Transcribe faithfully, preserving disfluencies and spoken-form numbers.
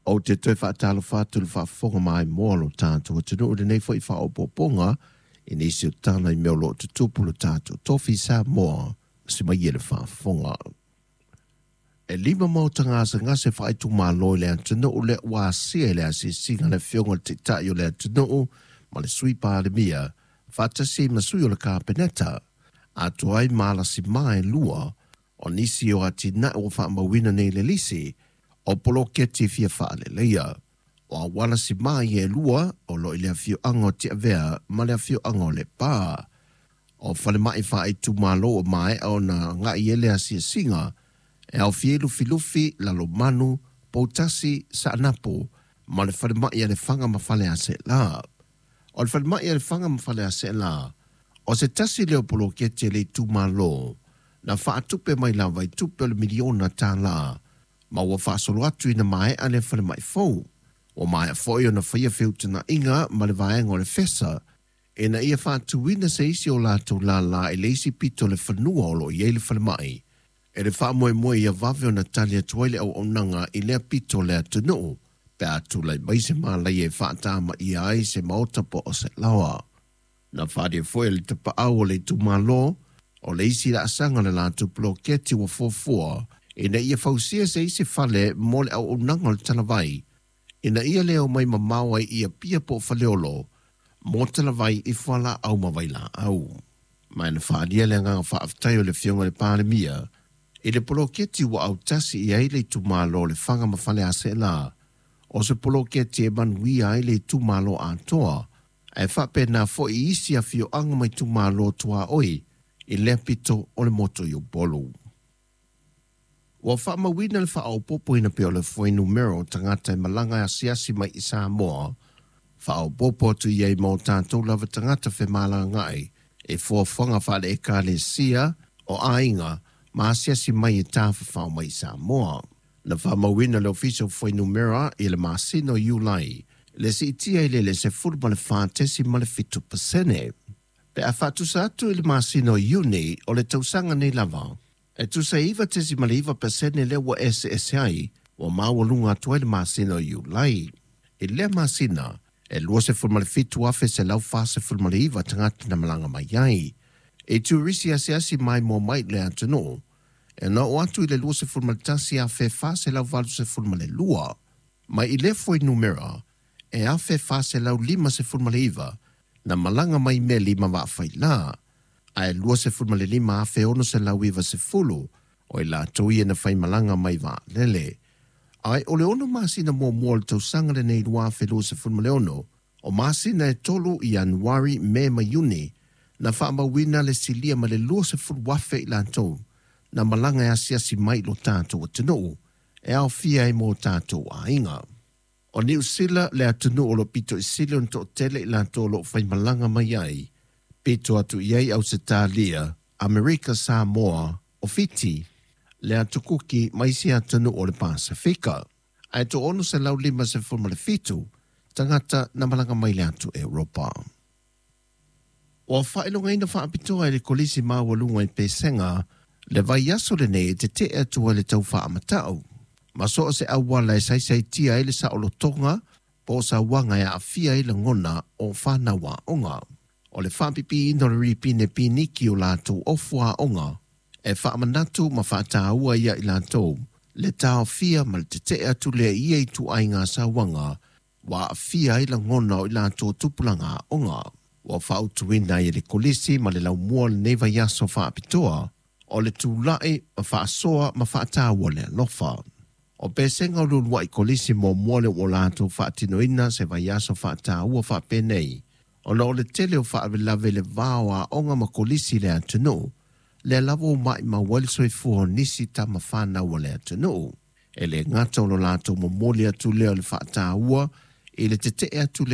Ou te toe faatalofa atu i le faafofoga maimoa o lo tatou atunuu i lenei foi faaopoopoga i nisi o tala i mea o lo o tutupu lo tatou tofi Samoa se mai e le faafofoga. E lima maota gasegase faaitumalo i le atunuu lea ua asia i le asiasiga a le afioga i le Taitai o le atunuu ma le Sui Palemia faatasi ma sui o le Kapeneta atoa ai ma alasimā e lua o nisi o atinae ua faamauina nei i le lisi o poloketi fia faaleleia. O auala simā ia e lua o lo o i le afioaga o Tiavea ma le afioaga o Lepa. O falemai faaitumalo ua maea ona agai i ai le asiasiga e aofia ai Lufilufi, Lalomanu, Poutasi, Saanapu ma le falemai a Lefaga ma Faleaseela. O le falemai a Lefaga ma Faleaseela, o se tasi lea o poloketi a le itumalo na faatupe mai lava i tupe o le miliona tala ma ua faasolo atu ina maea le falemai fou. Ua maea foi ona faia feutagaiga ma le vaega o le FESA ina ia faatuina se isi o latou lala i le isi pito o le fanua o lo o i ai le falemai e le faamoemoe ia vave ona tali atu ai le auaunaga i lea pito o le atunuu pe a tulai mai se malaia e faatamaia ai se maota po o se laoa. Na faaalia foi e le tapaau o le itumalo o le isi laasaga o le latou poloketi ua fuafua ina ia fausia se isi fale mo le auaunaga o le talavai ina ia le omai mamao ai i Apia po o Faleolo mo talavai i fualaau ma vailaau. Ma na faaalia le agaga faafetai o le afioga i le Palemia i le poloketi ua autasi i ai le itumalo o Lefaga ma Faleaseela, o se poloketi e manuia ai le itumalo atoa, ae faapena foi i isi afioaga ma itumalo tuaoi i lea pito o le motu i Upolu. Ua faamauina le faaopoopoina pea o le fuainumera o tagata e malaga e asiasi mai i Samoa, faaopoopo atu i ai ma o tatou lava tagata femalagaai i fuafuaga faale-Ekalesia o aiga ma asiasi mai e tafafao mai i Samoa. Na faamauina e le Ofisa o Fuainumera i le masina o Iulai le siitia i le le sefulu ma le fa tesi ma le fitu pasene pe a faatusa atu i le masina o Iuni o le tausaga nei lava. E tusa e iva tesi ma le iva pasene lea ua eseese ai ua maualuga atu ai le masina o Iulai. I lea masina, e luasefulu ma le fitu afe selau fasefulu ma le iva tagata na malaga mai ai. E turisi asiasi maimoa mai i le atunuu, e na oo atu i le luasefulu ma le tasi afe fa selau valusefulu ma le lua. Mai i lea fuainumera, e afe fa selau limasefulu ma le iva na malaga mai meli ma vaa faila, ae luasefulu ma le lima afe ono selau ivasefulu o i latou ia na faimalaga mai vaalele. Ae o le ono masina muamua o le tausaga lenei lua afe luasefulu ma le ono, o masina e tolu Ianuari, Me ma Iuni, na faamauina le silia ma le luasefulu afe i latou na malaga e asiasi mai i lo tatou atunuu e aofia ai ma o tatou aiga. O Niu Sila le atunuu o lo o pito i sili ona toatele i latou o lo o faimalaga mai ai, pito atu i ai Ausetalia, Amerika Samoa, o Fiti, le Atu Kuki ma isi atunuu o le Pasefika. Ae toaono selau limasefulu ma le fitu tagata na malaga mai le atu Europa. Ua faailogaina faapitoa e le Kolisi Maualuga i Pesega le vaiaso lenei e tetee atu ai le tau faamatau ma so o se auala e saisaitia ai le saolotoga po o sauaga e aafia ai lagona o fanau aoga. O le faapipiina o le ripine piniki o latou ofu aoga e faamanatu ma faataua ia i latou le taofia ma le tetee atu lea i ia ituaiga sauaga ua aafia ai lagona o i latou tupulaga aoga. Ua fautuaina ai e le Kolisi ma le laumua lenei vaiaso faapitoa o le tulai ma faasoa ma faataua le alofa. O Pesega o le uluai kolisi muamua lea ua latou faatinoina se vaiaso faataua faapenei, ona o le tele o faalavelave i le va o aoga ma kolisi i le atunuu, lea lava ua maimau ai le soifua o nisi tama fanau a le atunuu. E le gata o lo latou momoli atu lea o le faataua i le tetee atu